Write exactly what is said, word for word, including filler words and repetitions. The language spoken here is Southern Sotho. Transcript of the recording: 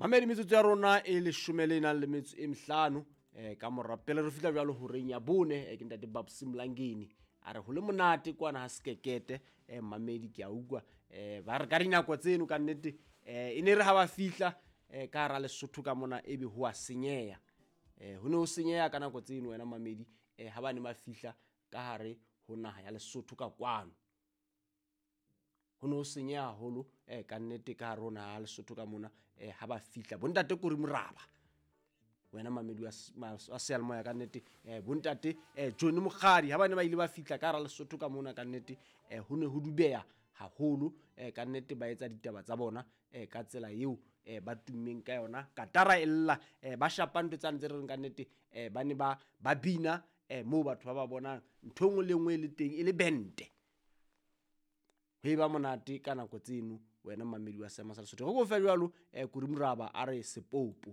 Mamedi, metsotso ya rona e leshome le nang le metso e mehlano um ka mora pele re fihla jwalo horeng ya bone. eh, ke ntate Babs Mlangeni a re ho le monate kwana ha sekekete. um Mamedi, ke a utlwa um ba re ka dinako tseno ka nnete um e ne re ha ba fihla um ka hara Lesotho ka mona ebe ho a senyeha. um ho ne ho senyeha ka nako tseno wena mamedi, um ha ba ne ba fihla ka hare ho naha ya Lesotho ka kwano, ho ne ho senyeha haholo um ka nnete ka hare ho naha ya Lesotho ka mona. um ha ba fihla bontate Kori Moraba, wena mamedi wa s- ma- wa seyalemoya, ka nnete um bontate um Johnny Mokgadi, ha ba ne ba ile ba fihla ka hara Lesotho ka mona, ka nnete um ho ne ho dubeha haholo. um ka nnete ba etsa ditaba tsa bona um ka tsela eo um ba tummeng ka yona, katara e lla, um ba shapa ntho tsane tse re reng ka nnete um ba ne ba ba bina um moo batho ba ba bonang ntho e nngwe le e nngwe e le teng e le bente, ho e ba monate ka nako tseno. Wena mamedi wa seema sa Lesotho, re ko fe jwalo um Kori Moraba a re sepopo.